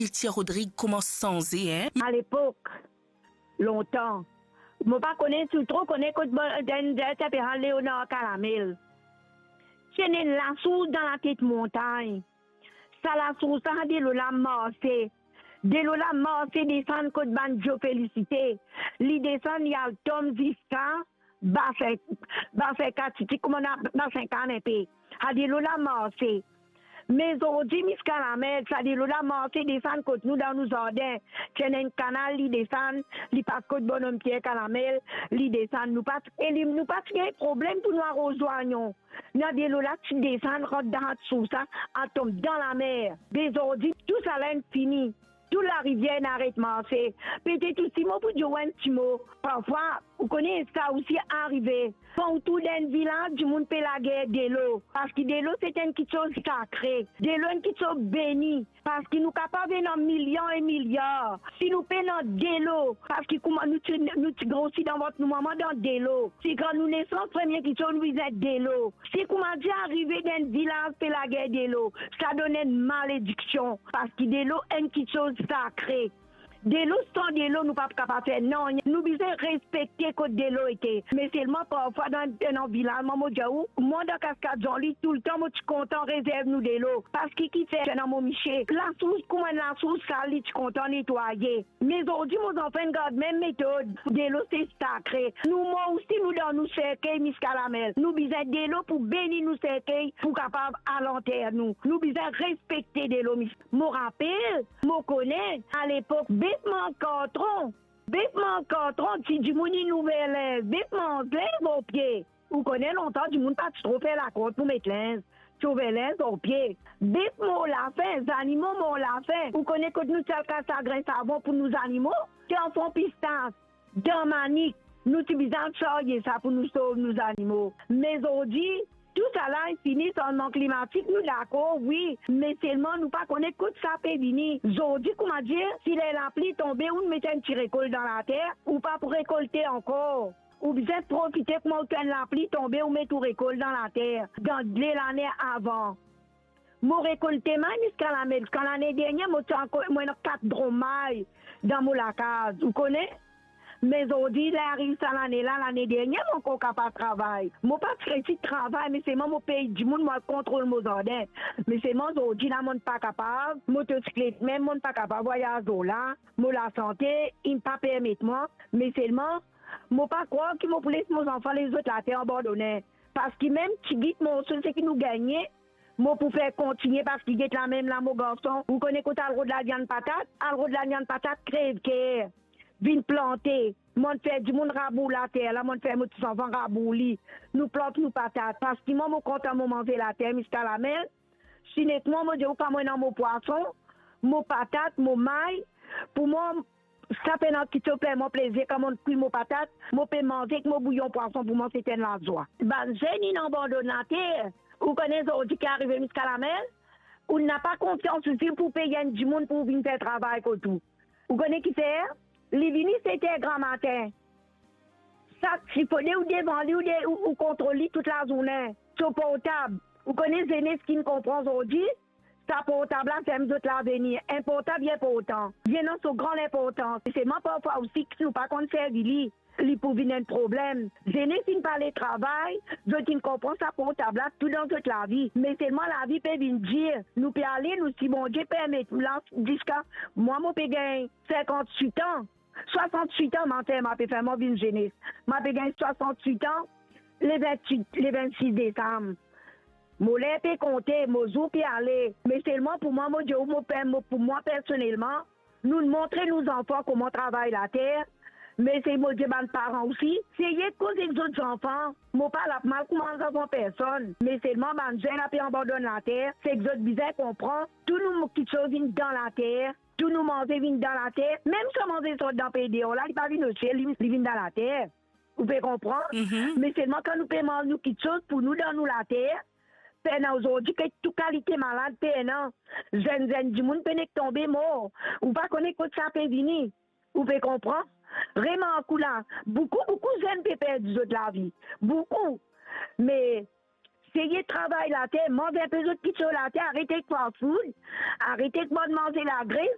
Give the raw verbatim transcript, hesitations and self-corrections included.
Tia Rodrig koumans sanze, en? Alepok, lontan, mo pa kone si ou tro kone kot bo-, dan, dan, ti apel Leonard Calamel. Ti ena enn lasours dan latet montagn. Sa lasours la, delo la marse. Delo la marse desann kot bann Joe Félicité. Li desann, li al tom ziska Basin, Basin Katiti, kouma na, Basin Kanepe. Sa delo la marse. Me zordi, Miss Calamel, sa delo la marse desann kot nou dan nou zardin. Ti ena enn kanal, li desann, li pas kot bonom Pierre Calamel, li desann. Nou pa, e li, nou pa ti gagn problem pou nou aroz zwanyon. Sa delo la ti desann, rant dan lasours la, al tom dan lamer. Me zordi, tou sala inn fini. Tou larivier inn aret marse. Petet osi mo pou dir ou enn ti mo. Parfwa, ou kone sa osi arive. Kan ou trouv dan enn vilaz, dimoun pe lager delo. Parski delo, se enn kiksoz sakre. Delo, enn kiksoz beni. Parski nou kapav ena milion e miliar. Si nou pena delo, parski kouma nou ti, nou ti grosi dan vant nou mama dan delo. Si kan nou nesans, premie kiksoz nou bizin delo. Si kouma dir arive dan enn vilaz pe lager delo, sa donn enn malediksion, parski delo enn kiksoz sakre. Delo, san delo, nou pa kapav fer nanye. Nou bizin respekte kot delo ete. Me selman parfwa dan, dan vilaz, mwa mo dir ou, mwa dan Kaskad Zanli, toultan mo ti kontan rezerv nou delo. Parski kifer ena mo misie? Lasours, kouma enn lasours sal, li ti kontan netwaye. Me zordi, mo zanfan inn gard mem metod. Delo se sakre. Nou mor osi, nou dan nou serkey, Miss Calamel. Nou bizin delo pou beni nou serkey, pou kapav al anter nou. Nou bizin respekte delo, Miss. Mo rapel, mo kone, alepok, bef manz kartron. Bef manz kartron, ti dimoun inn ouver linz, bef manz linz lor pie. Ou kone lontan, dimoun pa ti tro fer lakont pou met linz, ti ouver linz lor pie. Bef mor lafin, zanimo mor lafin. Ou kone kot nou ti al kas sagrin savon pou nou zanimo? Dan fon pistas, dan manik, nou ti bizin al sarye sa pou nou sov nou zanimo. Me zordi, tousala inn fini, sanzman klimatik, nou dakor, wi, me selman nou pa kone kot sa pe vini. Zordi, kouma dir, si ler lapli tonbe, ou met enn ti rekol dan later, ou pa pou rekolte ankor. Ou bizin profite kouma ou tann lapli tonbe, ou met ou rekol dan later, dan de lane avan. Mo rekolte may, Miss Calamel. Kan lane dernie, mo ti ankor, mo ena kat drom may dan mo lakaz, ou kone? Me zordi, ler ariv sa lane la, lane dernie, mo ankor kapav travay. Mo pa ti resi travay, me selman mo pey dimoun, mo al kontrol mo zardin. Me selman zordi la, mo'nn pa kapav, motosiklet mem, mo'nn pa kapav vwayaz lor la. Mo lasante inn pa permet mwa, me selman mo pa krwar ki mo pou les mo zanfan, les zot later abandone. Parski mem tigit morso seki nou gagne, mo pou fer kontigne, parski get la mem la, mo garson, ou kone kot al rod laviann patat? Al rod laviann patat, krev ker, vinn plante. Mo'nn fer dimoun rabour later la, mo'nn fer mo ti zanfan rabour li. Nou plant nou patat, parski mwa mo kontan mo manze later, Miss Calamel. Sinetman, mo dir ou, kan mo ena mo pwason, mo patat, mo may, pou mwa, sa pena kiksoz fer mwa plezir, kan mo'nn kwi mo patat, mo pe manze ek mo bouyon pwason, pou mwa se enn lazwa. Bann zenn inn abandonn later. Ou kone zordi ki arive, Miss Calamel? Ou napa konfians osi pou pey enn dimoun pou vinn fer travay kot ou. Ou kone kifer? Li vini set er gramatin. Sa ti fode ou devan li, ou de, ou, ou kontrol li tou lazourne. So portab. Ou kone zenes ki'nn konpran zordi, sa portab la ferm zot lavenir. Enn portab inportan. Li ena so gran linportans. Selman parfwa osi ki nou pa konn servi li, li pou vinn enn problem. Zenes inn pa le travay, zot inn konpran sa portab la tou dan zot lavi. Me selman lavi pe vinn dir. Nou pe ale, nou si Bondie permet, la ziska mwa mo pe gagn sinkant-wit an. Swasant-wit an, mo anterman pe fer, mo vinn zenes. Mo pe gagn swasant-wit an, le vintwit, le vintsis desam. Mo ler pe konte, mo zour pe ale. Me selman pou mwa, mo dir ou, mo pe, mo, pou mwa personelman, nou montre nou zanfan kouma travay later. Me se mo dir bann paran osi, seye koz ek zot zanfan. Mo pa la pou mal kouma zanfan personn. Me selman bann zenn la pe abandonn later, seki zot bizin konpran, tou nou kiksoz vinn dan later. Tou nou manze vinn dan later. Mem sa manze sort dan pei deor la, li pa vinn osiel, li, li vinn dan later. Ou pe konpran? Mhm. Me selman kan nou pe manz nou kiksoz pou nou dan nou later, pena zordi ki tou kalite malad pena. Zenn, zenn dimoun pena tonbe mor. Ou pa kone kot sa pe vini. Ou pe konpran? Remark ou la, boukou, boukou zenn pe perdi zot lavi. Boukou. Me seye travay later, manz enpe zot kiksoz later, aret ek fast food, aret ek bann manze lagres,